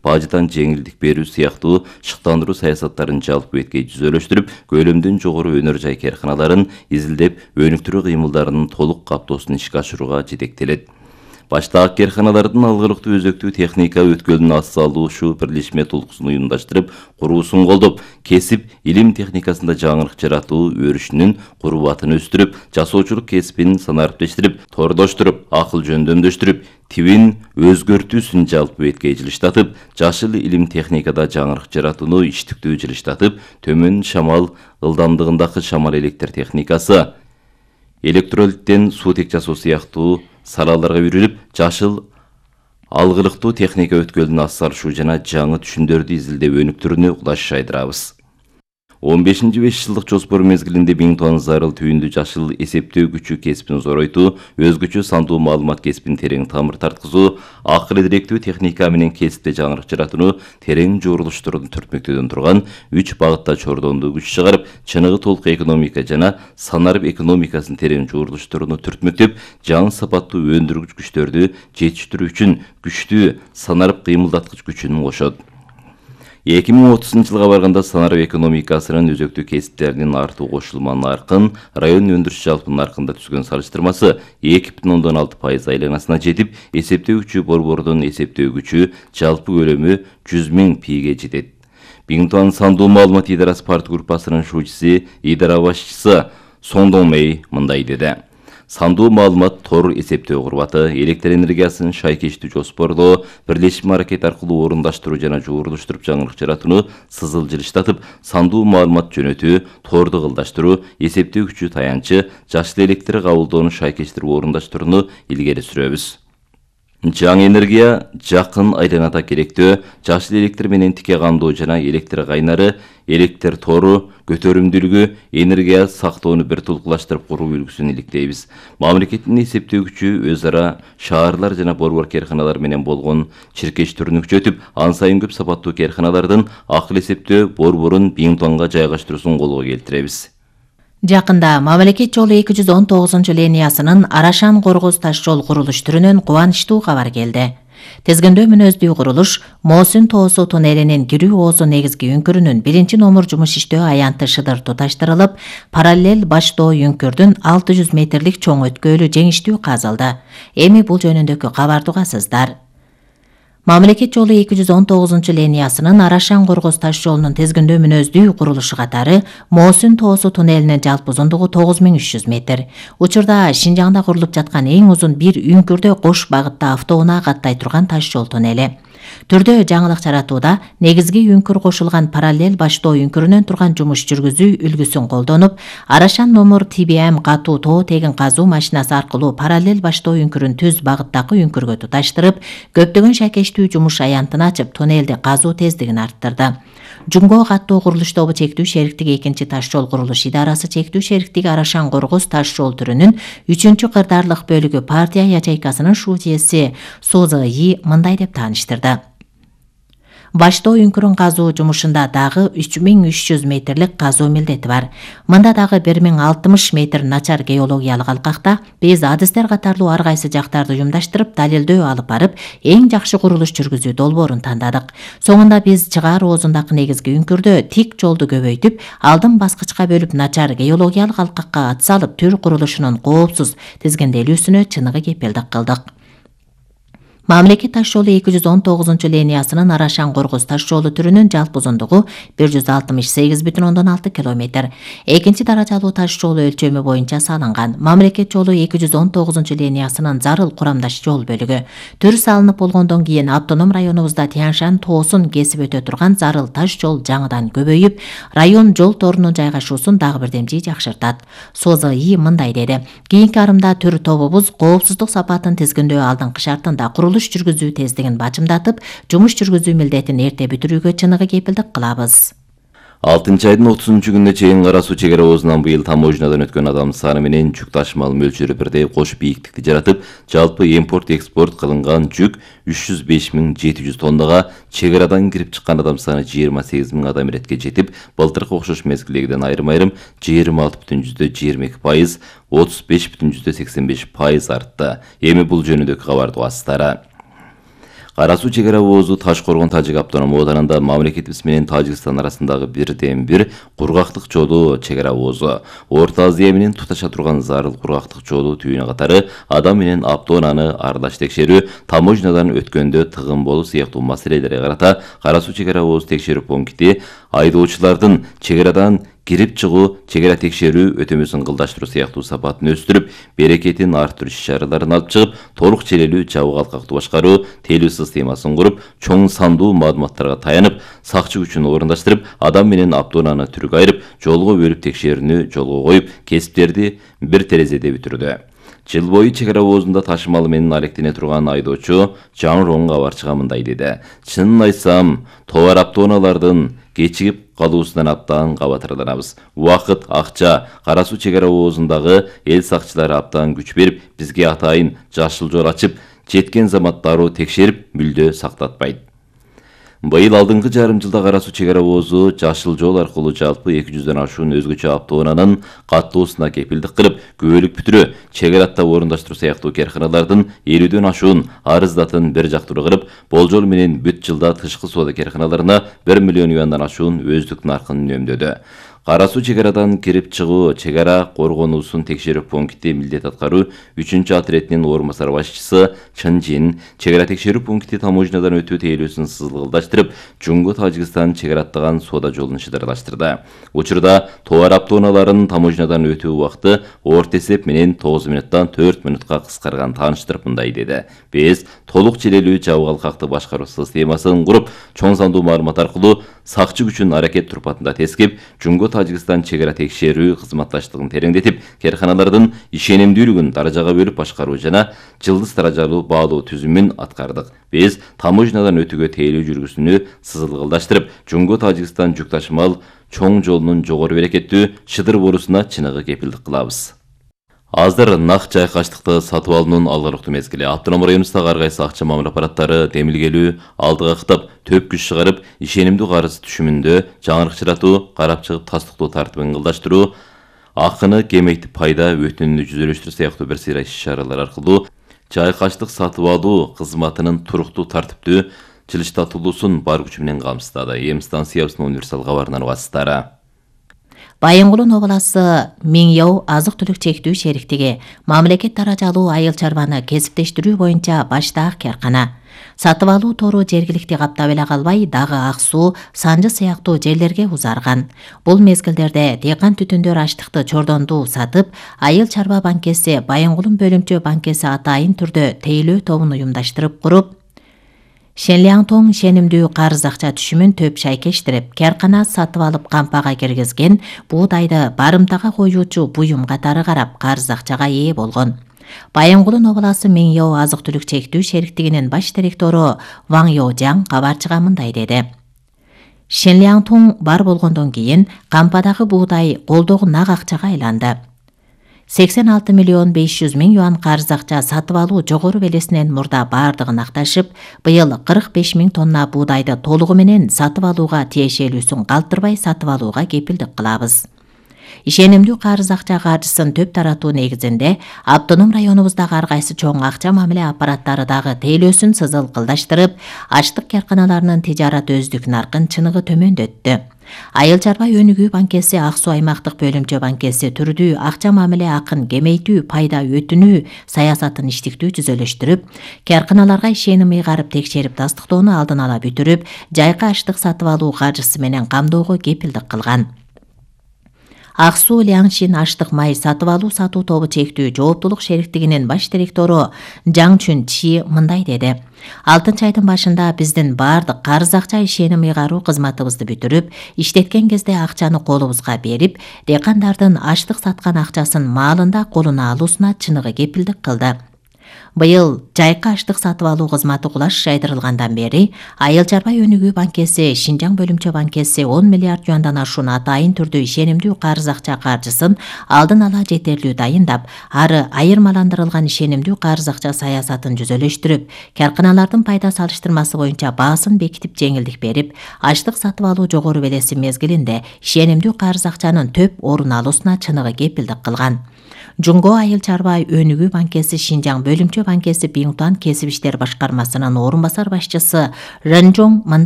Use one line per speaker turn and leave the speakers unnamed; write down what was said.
баждан жеңилдик берүү сыяктуу шыктандыруу саясаттарын жалпы бетке жүзөлөштүрүп, көлөмдөн жогору өнөр жай каарханаларын изилдеп, өнүктүрүү кыймылдарынын толук каптоосун ишке ашырууга жетектелет. Баштагы каарханалардын алгылыктуу өзөктүү техника өткөлүнүн ас салуучу бирлешме толкусун уюмдаштырып, куруусун колдоп, кесип, илим техникасында жаңылык жаратуу өрүшүнүн курбатын өстүрүп, жасоочулук кесибин санариптештирип, тордоштуруп, акыл жөндөмдөштүрүп, тибин өзгөртүүсүн жалпы бетке жылыштатып, жашыл илим техникада жаңылык жаратууну иштиктүү жылыштатып, төмөн шамал ылдамдыгындагы шамал электр техникасы, электролиттен суутек жасоо сыяктуу салаларга үйрүлүп, жашыл алгылыктуу техника өткөлүнүн ас салышуу жана жаңы түшүмдөрдү изилдеп өнүктүрүүнү кулаш жайдырабыз. 15-5 жылдык жоспор мезгилинде 1000 тонна зарыл түйүндү жашыл эсептөө күчү кесибин зоройтуу, өзгөчө сандуу маалымат кесибин терең тамыр тарткызуу, акыл директүү техника менен кесипте жаңылык жаратууну терең журулуштурууну түртмөктөдөн турган 3 багытта чордондуу күч чыгарып, чыныгы толук экономика жана санарып экономикасын терең журулуштурууну түртмөктөп, жаңы сапаттуу өндүргүч күчтөрдү жетиштирүү үчүн күчтүү санарып кыймылдаткыч күчүн кошот. 2030 жылга барганда санарып экономикасынын өзөктүү кесиптеринин артуу кошулма наркын, район өндүрүш жалпы наркында түзгөн салыштырмасы 2,6% айланасына жетип, эсептөө күчү борбордун эсептөө күчү жалпы көлөмү 100.000 пиге жетет. Бингтон сандуу маалымат идарасы парт группасынын шуучусу, идара башчысы Сондон Мэй мындай деди. Сандуу маалымат тор эсептөө курбаты, электр энергиясын шайкештүү жоспорлоо, бирлешме аракет аркылуу орундаштыруу жана жуурулуштуруп жаңылык жаратууну сызыл жылыштатып, сандуу маалымат жөнөтүү, торду кылдаштыруу, эсептөө күчү таянчы, жашыл электр кабылдоону шайкештирип орундаштырууну илгери сүрөбүз. Жаңы энергия жакын айланада керектөө, жашыл электр менен тике кандоо жана электр кайнары, электр тору, көтөрүмдүүлүгү, энергия сактоону бир тулкулаштырып куруу үлгүсүн иликтейбиз. Мамлекеттин эсептөө күчү өз ара шаарлар жана борбор каарханалар менен болгон чиркештирүүнү күчөтүп, ан сайын көп сапаттуу каарханалардын акыл эсептөө борборун Бингтонго жайгаштыруусун колго келтиребиз.
Жакында мамлекет жолу 219 линиясынын Арашан-Коргоз таш жол курулуш түрүнөн кубанычтуу кабар келди. Тизгиндөө мүнөздүү курулуш Моосун тоосу туннелинин кирүү оозу негизги үңкүрүнүн 1-номер жумуш иштөө аянты шыдыр туташтырылып, параллель баштоо үңкүрдүн 600 метрлик чоң өткөлү жеңиштүү казылды. Эми бул жөнүндөгү кабарды угасыздар. Мамлекет жолу 219 линиясынын Арашан-Коргоз таш жолунун тизгиндөө мүнөздүү курулушу катары Моосун тоосу туннелинин жалпы узундугу 9300 метр. Учурда Шинжаңда курулуп жаткан эң узун бир үңкүрдө кош багытта автоунаа каттай турган таш жол туннели. Түрдө жаңылык жаратууда негизги үңкүр кошулган параллель баштоо үңкүрүнөн турган жумуш жүргүзүү үлгүсүн колдонуп, Арашан номер TBM катуу тоо тегин казуу машинасы аркылуу параллель баштоо үңкүрүн түз багыттагы үңкүргө туташтырып, көптөгөн шайкештүү жумуш аянтын ачып, туннелди казуу тездигин арттырды. Жумго каттоо курулуш тобу чектүү шериктиги 2-таш жол курулуш идарасы чектүү шериктиги Арашан-Коргоз таш жол түрүнүн 3-кырдаарлык бөлүгү партия ячейкасынын шуучеси Созы мындай деп тааныштырды. Баштоо үңкүрүн казуу жумушунда дагы 3300 метрлик казуу милдети бар. Мында дагы 1060 метр начар геологиялык алкакта биз адистер катарлуу ар кайсы жактарды уюмдаштырып, далилдөө алып барып, эң жакшы курулуш жүргүзүү долбоорун тандадык. Соңунда биз чыгаар оозундагы негизги үңкүрдө тик жолду көбөйтүп, алдын баскычка бөлүп начар геологиялык алкакка ат салып, түр курулушунун коопсуз тизгинделүүсүнө чыныгы кепилдик кылдык. Мамлекет таш жолу 219 линиясынын Арашан-Коргоз таш жолу түрүнүн жалпы узундугу 168,6 км. Экинчи даражалуу таш жолу өлчөмү боюнча салынган. Мамлекет жолу 219 линиясынын зарыл курамдаш жол бөлүгү. Түр салынып болгондон кийин автоном районубузда Тяншан тоосун кесип өтө турган зарыл таш жол жаңыдан көбөйүп, район жол торунун жайгашуусун дагы бирдемчи жакшыртат. Созы мындай деди. Кийинки арымда түр тобубуз коопсуздук сапатын тизгиндөө алдыңкы шартында курулуш жүргүзүү тездигин бажымдатып, жумуш жүргүзүү милдетин эрте бүтүрүүгө чыныгы кепилдик кылабыз.
6-айдын 30-күнүнө чейин Кара суу чегара оозунан быйыл таможнядан өткөн адам саны менен жүк ташымал мөлчөрү бирдей кош бийиктикти жаратып, жалпы импорт-экспорт кылынган жүк 305.700 тоннага, чегарадан кирип чыккан адам саны 28.000 адам иретке жетип, былтыркы окшош мезгилдегиден айрым-айрым 26,22%, 35,85% артты. Эми бул жөнүндөгү кабарды угасыздар. Кара суу чек ара оозу Таш Коргон Тажик автономдук оодарында мамлекетибиз менен Тажикстан арасындагы бирден-бир кургактык жолу чек ара оозу. Орто Азия менен туташа турган зарыл кургактык жолу түйүнү катары адам менен автоунааны аралаш текшерүү, таможнядан өткөндө тыгын болуу сыяктуу маселелерге карата Кара суу чек ара оозу текшерүү пункти айдоочулардын чек арадан кирип чыгуу, чек ара текшерүү өтөмөсүн кылдаштыруу сыяктуу сапатын өстүрүп, берекетин арттыруу иш-чараларын алып чыгып, толук челелүү жабык алкактуу башкаруу тейлөө системасын куруп, чоң сандуу маалыматтарга таянып, сакчы күчүн орундаштырып, адам менен автоунааны түргө айырып, жолго бөлүп текшерүүнү жолго коюп, кесиптерди бир терезеде бүтүрдү. Жыл бою чек ара оозунда ташымалы менен алектене турган айдоочу Жан Рон кабарчыга мындай деди: "Чынын айтсам, товар автоунаалардын кечигип калуусунан абдан кабатырданабыз. Убакыт, акча, Кара суу чек ара оозундагы эл сакчылары абдан күч берип, бизге атайын жашыл жол ачып, жеткен замат дароо текшерип, мүлдө сактатпайт. Быйыл алдыңкы жарым жылда Кара суу чек ара оозу жашыл жол аркылуу жалпы 200дөн ашуун өзгөчө автоунаанын каттоосуна кепилдик кылып, күбөлүк бүтүрүү, чек арада орундаштыруу сыяктуу керканалардын 50дөн ашуун арыздатын бир жактуу кылып, болжол менен бүт жылда тышкы соода керканаларына 1 миллион юандан ашуун өздүк наркын үнөмдөдү. Кара суу чек арадан кирип чыгуу, чек ара коргонуусун текшерүү пункти милдет аткаруу 3-чү отрядынын орун басар башчысы Чын Жин чек ара текшерүү пункти таможнядан өтүү тейлөөсүн сызылгылдаштырып, Жунгу Тажикстан чек араттаган соода жолун шыдырлаштырды. Учурда товар автоунааларынын таможнядан өтүү убакыты орто эсеп менен 9 минуттан 4 минутка кыскарган. Тааныштырып мындай деди: "Биз толук челелүү жабык алкакты башкаруу системасын куруп, чоң сандуу маалымат аркылуу сакчы күчүн аракет турпатында тескип, Жунгу Тажикстан чек ара текшерүү кызматташтыгын тереңдетип, керканалардын ишенимдүүлүгүн даражага бөлүп башкаруу жана жылдыз даражалуу баалоо түзүмүн аткардык. Биз таможнядан өтүүгө тейлөө жүргүзүүнү сызылгылдаштырып, Жунгу Тажикстан жүк ташымал чоң жолунун жогору берекеттүү шыдыр болуусуна чыныгы кепилдик кылабыз." Азыр нак жайкаштыкты сатып алуунун алгарыктуу мезгили. Автоном районубуздагы ар кайсы акча мамиле аппараттары демилгелүү, алдыга кытап, төп күч чыгарып, ишенимдүү карыз түшүмүндө жаңырыкчыратуу, карап чыгып тастыктоо тартибин кылдаштыруу, акыны кемейтип пайда өтүнүнү жүзөлөштүрүү сыяктуу бир сыйра иш-чаралар аркылуу жайкаштык сатып алуу кызматынын туруктуу тартиптүү жылыштатылуусун бар күчү менен камсыздады. Эм станциябыздын универсал кабарынан убасыздары.
Байынгулун обласы Миңяу азык-түлүк чектүү шериктиги мамлекет даражалуу айыл чарбаны кесиптештирүү боюнча баштаак керкана. Сатып алуу тору жергиликти каптап эле калбай, дагы Ак суу, Санжы сыяктуу жерлерге узарган. Бул мезгилдерде дыйкан түтүндөр аштыкты чордонду сатып, айыл чарба банкеси Байынгулун бөлүмчө банкеси атайын түрдө тейлөө тобун уюмдаштырып куруп, Шенлиаңтоң ишенимдүү карыз акча түшүмүн төп шайкештирип, керкана сатып алып кампага киргизген, буудайды барымтага коюучу буюм катары карап карыз акчага ээ болгон. Байынгулун обласы Миңяу азык-түлүк чектүү шериктигинин баш директору Ваң Йожаң кабарчыга мындай деди: "Шенлиаңтоң бар болгондон кийин кампадагы буудай колдогу нак акчага айланды. 86 миллион 500 миң юан карыз акча сатып алуу жогору белесинен мурда бардыгын акташып, быйыл 45 миң тонна буудайды толугу менен сатып алууга тиешелүүсүн калтырбай сатып алууга кепилдик кылабыз. Ишенимдүү карыз акча каржысын төп таратуу негизинде автоном районубуздагы ар кайсы чоң акча мамиле аппараттары дагы тейлөөсүн сызылгылдаштырып, аштык керканаларынын тижарат өздүк наркын чыныгы төмөндөттү. Айыл чарба өнүгүү банкеси Ак суу аймактык бөлүмчө банкеси түрдүү акча мамиле акын кемейтүү, пайда өтүнүү саясатын иштиктүү түзөлөштүрүп, керканаларга ишеним ыйгарып текшерип тастыктоону алдын ала бүтүрүп, жайкы аштык сатып алуу каржысы менен камдоого кепилдик кылган. Ак суу Лиаңшин аштык май сатып алуу сатуу тобу чектүү жооптулук шериктигинин баш директору Жаң Чүн Чи мындай деди: "6 айдын башында биздин бардык карыз акча ишеним ыйгаруу кызматыбызды бүтүрүп, иштеткен кезде акчаны колубузга берип, дыйкандардын аштык саткан акчасын маалында колуна алуусуна чыныгы кепилдик кылды. Быйыл жайкы аштык сатып алуу кызматы кулаш жайдырылгандан бери айыл чарба өнүгүү банкеси, Шинжаң бөлүмчө банкеси 10 миллиард юандан ашуун атайын түрдүү ишенимдүү карыз акча каржысын алдын ала жетерлүү дайындап, ары айырмаландырылган ишенимдүү карыз акча саясатын жүзөлөштүрүп, керканалардын пайда салыштырмасы боюнча баасын бекитип жеңилдик берип, аштык сатып алуу жогору белеси мезгилинде ишенимдүү карыз акчанын төп орун алуусуна чыныгы кепилдик кылган. Жунго айыл чарба өнүгүү банкеси Шинжаң бөлүмчө банкеси Биңтуан кесип иштер башкармасынын орун басар башчысы Ренжоң мындай